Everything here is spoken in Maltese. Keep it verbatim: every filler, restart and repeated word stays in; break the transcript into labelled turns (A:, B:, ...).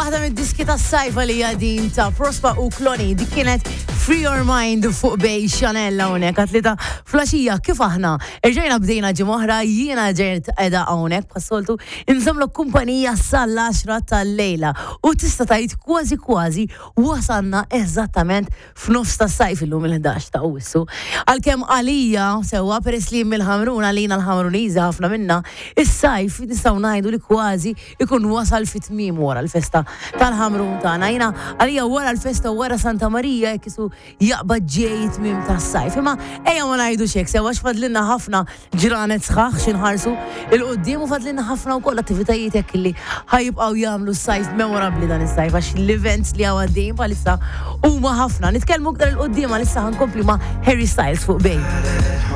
A: Waħda mid-diski tas-sajfa li din ta' Prospa u Kloni, dik kienet Free Your Mind fuq Bay Chanel hawnhekk għat-tlieta filgħaxija. Kif aħna erġajna bdejna ġimgħa oħra, jiena ġejt qiegħda hawnhekk bħas-soltu inżommlok kumpanija sal-għaxra tal-lejla u tista' tgħid kważi kważi wasalna eżattament f'nofs tas-sajf illum, il-ħdax ta' Awwissu. Għalkemm għalija sewwa, peress li mill-Ħamrun, għalina l-Ħamruniżi ħafna minna, is-sajf nistgħu ngħidu li kważi ikun wasal fit tmiem wara l-festa tal-Ħamrun tagħna. Jiena għalija wara l-festa, wara Santa Marija, jekk isu jaqbad ġej tmiem tas-sajf. Imma ejja ma ngħidu xek sewwa, x'fadlilna ħafna ġranet sħaħ x'inħarsu 'l quddiem u fadlilna ħafna wkoll attivitajiet hekk li ħa jibqgħu jagħmlu s-sajf memorabbli dan is-sajf, għax l-events li hawn għaddejjin bħalissa huma ħafna. Nitkellmu aktar 'il quddiem, għalissa ħa nkompli ma' Harry Styles fuq Bay.